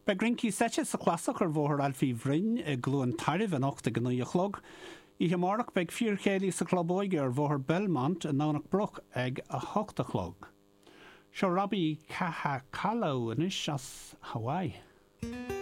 Beidh rincí seite sa Chlasach ar Bhóthar Ailfí Bhroin i gCluain Tairbh anocht ag a 9 a chlog. Oíche amárach beidh fíorchéilí sa Chlub Óige ar Bhóthar Belmont i nDomhnach Broc ag 8 a chlog. Seo Robbie Kahakalau anois as Hawaii.